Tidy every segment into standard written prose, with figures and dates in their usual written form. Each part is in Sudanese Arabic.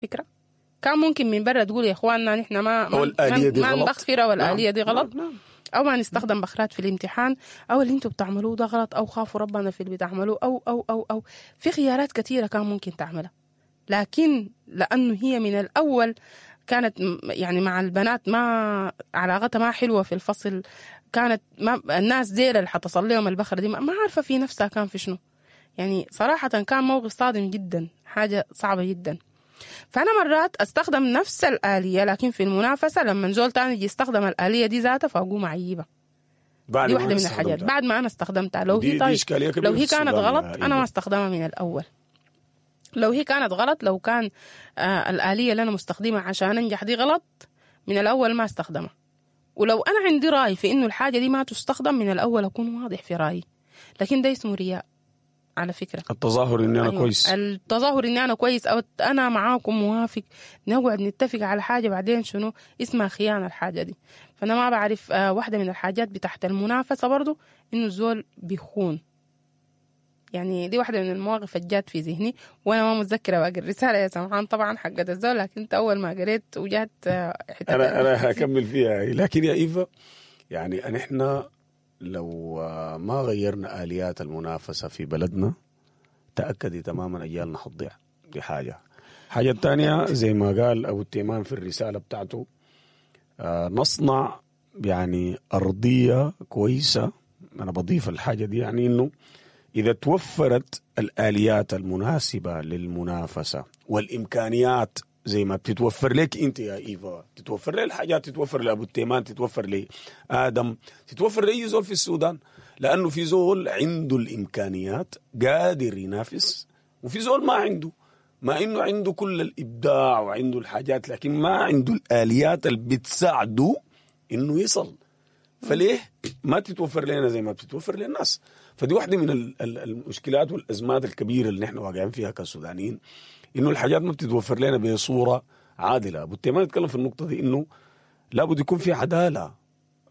الفكرة؟ كان ممكن من برا تقول يا اخواننا نحن ما أو ما, الآلية دي ما غلط. نبخر او الآلية نعم. دي غلط. نعم. او ما نستخدم بخرات في الامتحان، او اللي انتوا بتعملوه ده غلط، او خافوا ربنا في اللي بتعملوه، او او او او في خيارات كثيرة كان ممكن تعملها. لكن لانه هي من الاول كانت يعني مع البنات ما علاقتها ما حلوة في الفصل، كانت ما الناس ديل اللي حتصل لهم البخره دي ما عارفه في نفسها كان في شنو. يعني صراحة كان موقف صادم جدا، حاجة صعبة جدا. فانا مرات استخدم نفس الالية لكن في المنافسة لما زول تاني يجي يستخدم الالية دي ذاتها فاقوم اعيبها. بعد دي ما واحدة أنا من الحاجات استخدمتها. بعد ما انا استخدمتها. لو دي هي طيب إشكالية كبيرة لو هي في كانت السودان غلط يا انا ما إيفا. استخدمها من الاول. لو هي كانت غلط، لو كان الآلية اللي أنا مستخدمها عشان أنجح دي غلط من الأول ما استخدمها. ولو أنا عندي رأي في إنه الحاجة دي ما تستخدم من الأول أكون واضح في رأيي. لكن ده اسمه رياء على فكرة. التظاهر اني انا أيوة. كويس. التظاهر إني أنا كويس أو أنا معاكم موافق، نقعد نتفق على حاجة بعدين شنو اسمها خيانة الحاجة دي. فأنا ما بعرف. واحدة من الحاجات بتاعت المنافسة برضو إنه الزول بيخون. يعني دي واحدة من المواقف اللي جات في ذهني وأنا ما متذكرة باقي الرسالة يا سمحان طبعا حقت الزول، لكن أنت أول ما قريت وجات حتة انا هكمل فيها. لكن يا ايفا يعني نحن لو ما غيرنا اليات المنافسة في بلدنا تاكدي تماما اجيالنا حتضيع. دي حاجة. حاجة الثانية زي ما قال ابو التيمان في الرسالة بتاعته، نصنع يعني ارضية كويسة. انا بضيف الحاجة دي يعني انه اذا توفرت الاليات المناسبة للمنافسة والامكانيات زي ما بتتوفر لك انت يا ايفا، تتوفر لي الحاجات، تتوفر لابو التيمان، تتوفر لادم، تتوفر لاي زول في السودان، لانه في زول عنده الامكانيات قادر ينافس، وفي زول ما عنده، مع انه عنده كل الابداع وعنده الحاجات لكن ما عنده الاليات اللي بتساعده انه يصل. فليه ما تتوفر لنا زي ما بتتوفر للناس؟ فدي واحدة من المشكلات والأزمات الكبيرة اللي نحن واقعين فيها كسودانيين، إنه الحاجات ما بتتوفر لنا بصورة عادلة. أبو التيمان يتكلم في النقطة دي إنه لابد يكون في عدالة،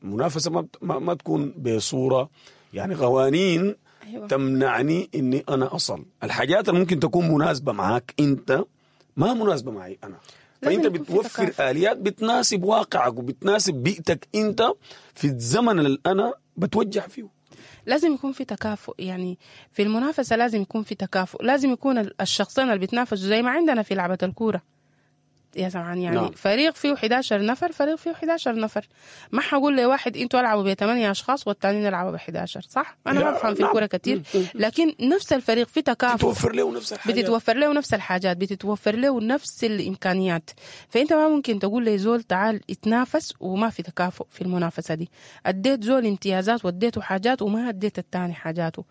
منافسة ما تكون بصورة يعني قوانين أيوة. تمنعني إني أنا أصل الحاجات اللي ممكن تكون مناسبة معاك أنت ما مناسبة معي أنا. فأنت بتوفر آليات بتناسب واقعك وبتناسب بيئتك أنت في الزمن اللي أنا بتوجه فيه. لازم يكون في تكافؤ، يعني في المنافسة لازم يكون في تكافؤ، لازم يكون الشخصين اللي بيتنافسوا زي ما عندنا في لعبة الكورة يا سمعان، يعني نعم. فريق فيه 11 نفر، فريق فيه 11 نفر، ما حقول لواحد انتوا العبوا ب 8 اشخاص والتانيين العبوا ب 11، صح؟ انا ما بفهم في الكورة كتير، لكن نفس الفريق في تكافؤ، بتتوفر له نفس الحاجات، بتتوفر له نفس الحاجات، بتتوفر له نفس الامكانيات. فانت ما ممكن تقول لي زول تعال اتنافس وما في تكافؤ في المنافسة دي. اديت زول امتيازات واديته حاجات وما اديت التاني حاجاته.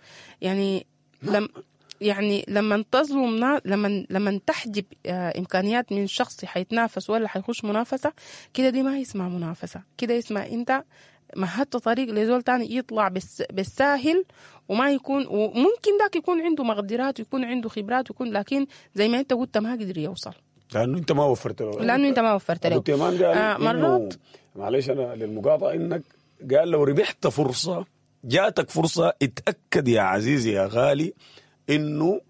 يعني لما تظلم، لما تحجب امكانيات من شخص حيتنافس ولا حيخش منافسه كده، دي ما اسمها منافسه، كده اسمها انت مهدت طريق لزول تاني يطلع بالساهل، وما يكون، وممكن ذاك يكون عنده مقدرات ويكون عنده خبرات ويكون، لكن زي ما انت قلت ما قدر يوصل لانه انت ما وفرت له، لانه انت ما وفرت له. قال مرات معلش انا للمقاطعه، انك قال لو ربحت فرصة، جاتك فرصة، اتاكد يا عزيزي يا غالي انه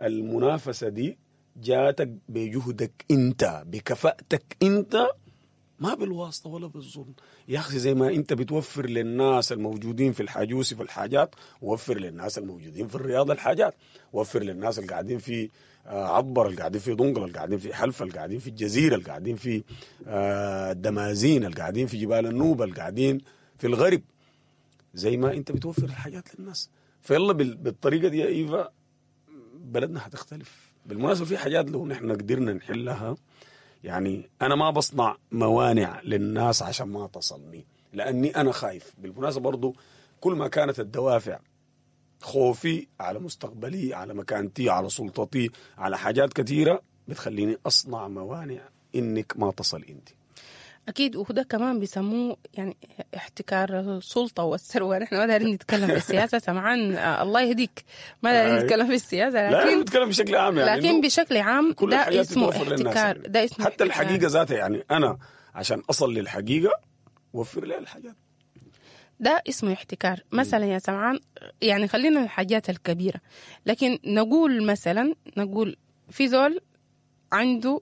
المنافسة دي جاتك بجهدك انت، بكفاءتك انت، ما بالواسطة ولا بالظلم. يا اخي زي ما انت بتوفر للناس الموجودين في الحاجوسي في الحاجات، وفر للناس الموجودين في الرياض الحاجات، وفر للناس اللي قاعدين في عبر، اللي قاعدين في دنقل، اللي قاعدين في حلفة، اللي قاعدين في الجزيرة، اللي قاعدين في الدمازين، اللي قاعدين في جبال النوبة، اللي قاعدين في الغرب، زي ما انت بتوفر الحاجات للناس. فيلا بالطريقة دي يا ايفا بلدنا هتختلف. بالمناسبة في حاجات لو نحن قدرنا نحلها، يعني أنا ما بصنع موانع للناس عشان ما تصلني لأني أنا خايف. بالمناسبة برضو كل ما كانت الدوافع خوفي على مستقبلي، على مكانتي، على سلطتي، على حاجات كثيرة، بتخليني أصنع موانع إنك ما تصل أنت. أكيد، وده كمان بيسموه يعني احتكار السلطة والثروة. نحن ما دارين نتكلم في السياسة سمعان، الله يهديك، ما دارين نتكلم في السياسة، لكن لا نتكلم بشكل عام يعني، لكن بشكل عام ده اسمه احتكار، ده اسمه حتى احتكار. الحقيقة ذاتها، يعني أنا عشان أصل للحقيقة وفر لي الحاجات، ده اسمه احتكار. مثلا يا سمعان، يعني خلينا الحاجات الكبيرة، لكن نقول مثلا، نقول في زول عنده